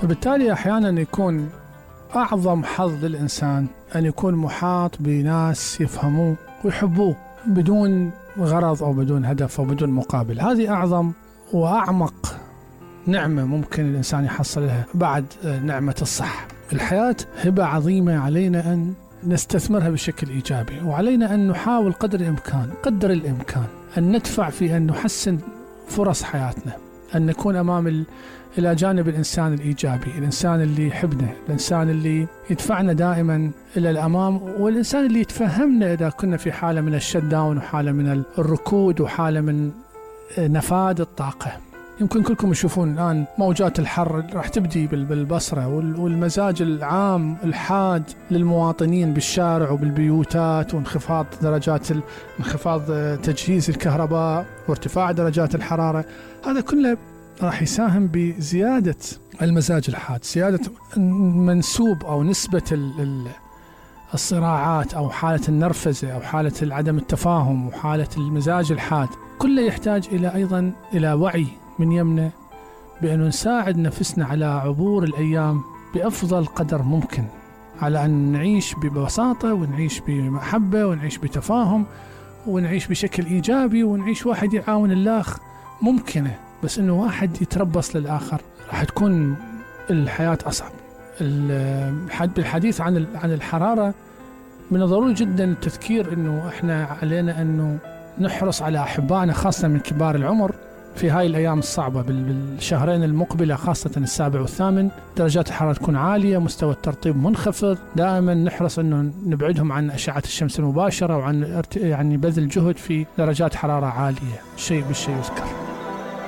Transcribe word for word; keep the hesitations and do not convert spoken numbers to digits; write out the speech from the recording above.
فبالتالي أحيانا يكون أعظم حظ للإنسان أن يكون محاط بناس يفهموه ويحبوه بدون غرض أو بدون هدف أو بدون مقابل. هذه أعظم وأعمق نعمة ممكن الإنسان يحصلها بعد نعمة الصحة. الحياة هبة عظيمة، علينا أن نستثمرها بشكل إيجابي، وعلينا أن نحاول قدر الإمكان قدر الإمكان أن ندفع في أن نحسن فرص حياتنا، أن نكون أمام ال... إلى جانب الإنسان الإيجابي، الإنسان اللي يحبنا، الإنسان اللي يدفعنا دائما إلى الأمام، والإنسان اللي يتفهمنا إذا كنا في حالة من الشت داون وحالة من الركود وحالة من نفاد الطاقة. يمكن كلكم تشوفون الآن موجات الحر راح تبدي بالبصرة، والمزاج العام الحاد للمواطنين بالشارع وبالبيوتات، وانخفاض درجات انخفاض تجهيز الكهرباء وارتفاع درجات الحرارة، هذا كله راح يساهم بزيادة المزاج الحاد، زيادة منسوب أو نسبة الصراعات أو حالة النرفزة أو حالة عدم التفاهم وحالة المزاج الحاد. كله يحتاج إلى أيضا إلى وعي من يمنا بأن نساعد نفسنا على عبور الأيام بأفضل قدر ممكن، على أن نعيش ببساطة ونعيش بمحبة ونعيش بتفاهم ونعيش بشكل إيجابي ونعيش واحد يعاون الآخر. ممكنة، بس إنه واحد يتربص للآخر راح تكون الحياة أصعب. بالحديث عن عن الحرارة، من الضروري جدا التذكير إنه إحنا علينا إنه نحرص على أحبائنا خاصة من كبار العمر في هاي الأيام الصعبة. بالشهرين المقبلة خاصة السابع والثامن درجات الحرارة تكون عالية، مستوى الترطيب منخفض. دائما نحرص أنه نبعدهم عن أشعة الشمس المباشرة وعن يعني بذل جهد في درجات حرارة عالية. شيء بالشيء يذكر.